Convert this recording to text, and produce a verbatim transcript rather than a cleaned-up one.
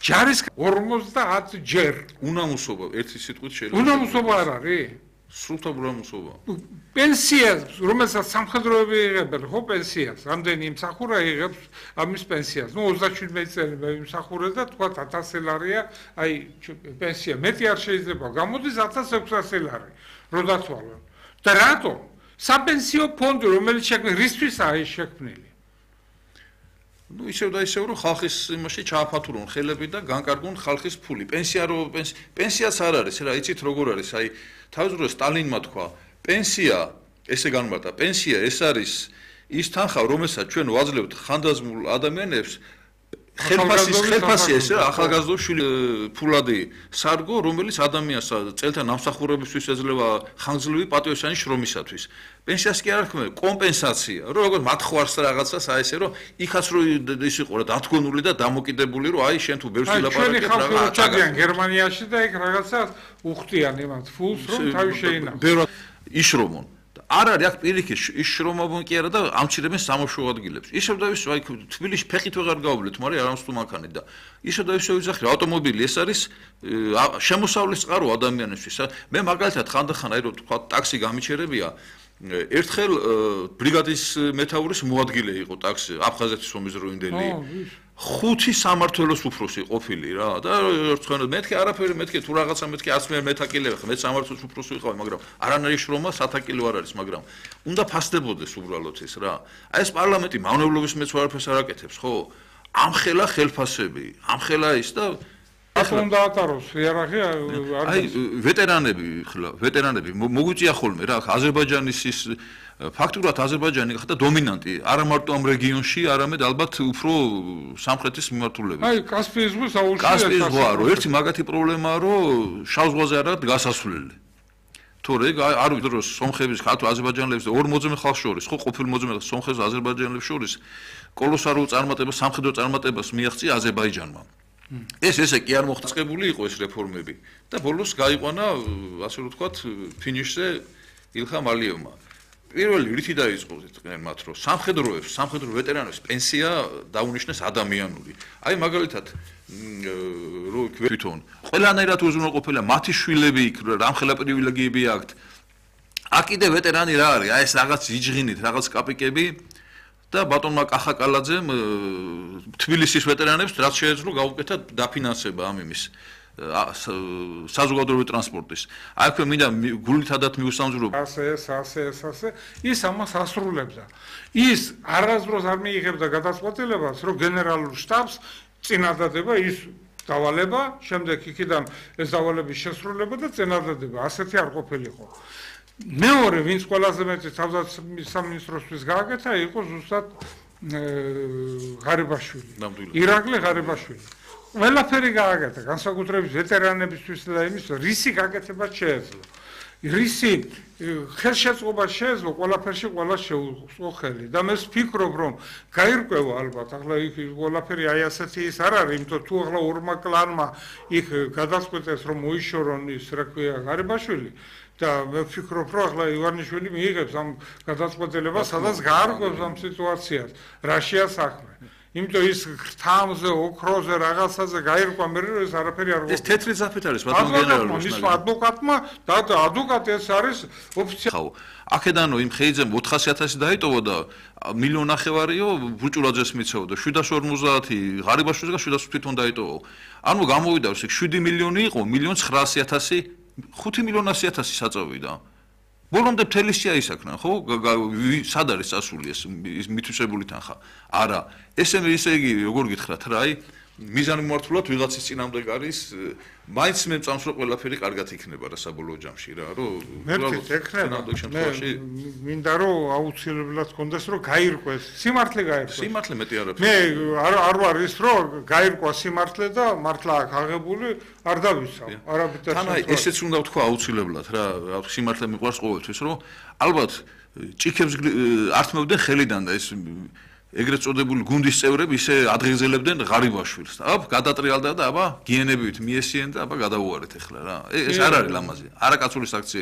ჯარის ორმოცდაათ ჯერ. უნამუსობა ერთი სიტყვით შეიძლება. უნამუსობა არ არის? სრულთავად უნამუსობა. პენსიას, რომელსაც სამხედროები იღებენ, ხო პენსიას, რამდენი იმსახურა იღებს ამის პენსიას. ნუ ოცდაშვიდმეტი წელი იმსახურა და თქვა ათასი ლარია, აი პენსია მეტი არ შეიძლება გამოდის ათას ექვსასი ლარი, რო დათვალონ. და რატო? საპენსიო ფონდი, რომელიც შექმნილი, რისთვის არის შექმნილი? ნუ ისევ და ისევ რომ ხალხის იმაში ჩააფათურონ ხელები და განკარგონ ხალხის ფული. პენსია რო პენსიაც არ არის, რა იცით როგორ არის? აი თავისუფლად სტალინმა თქვა, პენსია ესე განმარტა, პენსია ეს არის ის თანხა, რომელსაც ჩვენ ვაძლევთ ხანდაზმულ ადამიანებს ხელფასის ხელფასი ეს რა ახალგაზრდო შვილი ფულადი სარგო, რომელიც ადამიანს წელთან ნამსახურებისთვის ეძლევა ხანგრძლივი პატიოსანი შრომისათვის. პენსიას კი არ ხმე, კომპენსაცია, რომ როგორ მათხვარს რაღაცას აი ესე რომ იქაც რო ის იყო რა დათგონული და დამოკიდებული რომ აი შენ თუ ბევრს ვილაპარაკებ რაღაცა ჩადიან გერმანიაში და იქ რაღაცა უხდიან იმათ ფულს რომ თავი შეინახოს. ბევრად იშრომონ. არ არის აქ პირიქით ის შრომობენ კი არა და ამჩირებენ სამოშო ადგილებს. ისევ და ისევ აი თბილისში ფეხით ვეღარ გავავლეთ, მაგრამ არამს თუ მანქანით და ისევ და ისევ ვიძახი ავტომობილი ეს არის შემოსავლის წყარო ადამიანისთვის. მე მაგალითად ხანდახან აი რომ თქვა ტაქსი გამიჩერებია ერთხელ ბრიგადის მეთაურის მოადგილე იყო ტაქსი აფხაზეთის ომის დროინდელი. ხუთი სამართველოს უფროსი ყოფილი რა და ერთხელ მეთქე არაფერი მეთქე თუ რაღაცა მეთქე არც მე მეთაკილე ხა მე სამართლის უფროსი ვიყავი მაგრამ არანაირი შრომა სათაკილო არ არის მაგრამ უნდა ფასდებოდეს უბრალოდ ეს რა აი ეს პარლამენტი მავნებლობის მეც არაფერს არ აკეთებს ხო ამხელა ხელფასები ამხელა ის და ახლა უნდა ატაროს იარაღი აი ვეტერანები ხლა ვეტერანები მოგვიწია ხოლმე რა აზერბაიჯანის ის ფაქტურად აზერბაიჯანი ხდა დომინანტი არა მარტო ამ რეგიონში, არამედ ალბათ უფრო სამხრეთის მიმართულებით. აი, კასპიის ზღვის აუზში კასპიის ზღვა, რომ ერთი მაგათი პრობლემაა, რომ შავ ზღვაზე არ არის გასასვლელი. თორე არ ვიცი რომ სომხების ხალხ აზერბაიჯანელებს და ორ მოძმე ხალხს შორის, ხო ყოფილ მოძმე სომხებს და აზერბაიჯანელებს შორის კოლოსალურ წარმატებას, სამხედრო წარმატებას მიაღწია აზერბაიჯანმა. ეს ესე კი არ მოხწყებული იყო ეს რეფორმები და ბოლოს გაიყვანა, ასე რომ ვთქვათ, ფინიშზე ილხამ ალიევმა. პირველი რითი დაიწყო მათ რომ სამხედროებს, სამხედრო ვეტერანებს პენსია დაუნიშნეს ადამიანური. აი მაგალითად რო თვითონ ყველანაირად უზრუნველყოფილია მათი შვილები იქ რამხელა პრივილეგიები აქვთ. აქ კიდე ვეტერანი რა არის? აი ეს რაღაც იჯღინით, რაღაც კაპიკები და ბატონმა კახაკალაძემ თბილისის ვეტერანებს რაც შეეძლო გაუკეთა დაფინანსება ამ იმის საზოგადოებრივი ტრანსპორტის. აი თქვენ მინდა გულითადად მიუსამძვროებო. ასე ეს, ასე ეს, ასე ის ამას ასრულებდა. ის არასდროს არ მიიღებდა გადაწყვეტილებას, რომ გენერალურ შტაბს წინადადება ის დავალება, შემდეგ იქიდან ეს დავალების შესრულება და წინადადება. ასეთი არ ყოფილიყო. მეორე, ვინც ყველაზე მეტი თავდაცვის გააკეთა, იყო ზუსტად ღარიბაშვილი. ირაკლი ღარიბაშვილი. ყველაფერი გააკეთა, განსაკუთრებით ვეტერანებისთვის და იმის რისი გაკეთებას შეეძლო. რისი ხელშეწყობა შეეძლო, ყველაფერში ყველა შეუწყო ხელი. და მე ვფიქრობ, რომ გაირკვევა ალბათ, ახლა იქ ყველაფერი აი ასეთი ის არ არის, იმიტომ თუ ახლა ორმა კლანმა იქ გადაწყვეტეს, რომ მოიშორონ ის, რა ქვია, ღარიბაშვილი და მე ვფიქრობ, რომ ახლა ივანიშვილი მიიღებს ამ გადაწყვეტილებას, სადაც გაარკვევს ამ სიტუაციას, რაშია საქმე. იმიტომ ის ხრთამზე, ოქროზე, რაღაცაზე გაირკვა მე რომ ეს არაფერი არ ეს თეთრი ზაფეთ არის ბატონ გენერალურს. ის ადვოკატმა და ადვოკატი ეს არის ოფიციალური. აქედანო იმ ხეიძემ ოთხასი ათასი დაიტოვა და მილიონ ნახევარიო ბუჭურაძეს მიცეოდა შვიდას ორმოცდაათი ღარიბაშვილს და შვიდას თვითონ დაიტოვა. ანუ გამოვიდა რომ შვიდი მილიონი იყო, მილიონ ცხრაასი ათასი, ხუთი მილიონ ასი ათასი საწოვიდა. ბოლომდე მთელი შეაისახნა, ხო? სად არის წასული ეს მითვისებული თანხა? არა. ესე ისე იგი როგორ გითხრათ რა, აი მიზანმიმართულად ვიღაცის წინამდე არის, მაინც მე მწამს რომ ყველაფერი კარგად იქნება რა საბოლოო ჯამში რა, რომ უბრალოდ ექნება. მე მინდა რომ აუცილებლად კონდეს რომ გაირკვეს, სიმართლე გაირკვეს. სიმართლე მეტი არაფერი. მე არ არ ვარ ის რომ გაირკვა სიმართლე და მართლა აქ აღებული არ დავისავ. არაბიტას. თან აი ესეც უნდა ვთქვა აუცილებლად რა, სიმართლე მიყვარს ყოველთვის რომ ალბათ ჭიქებს ართმევდნენ ხელიდან და ეს ეგრეთ წოდებული გუნდის წევრები ისე ადღეგზელებდნენ ღარიბაშვილს. აბა გადატრიალდა და აბა გიენებით მიესიენ და აბა გადაუარეთ ახლა რა. ეს არ არის ლამაზი. არაკაცური საქციელი.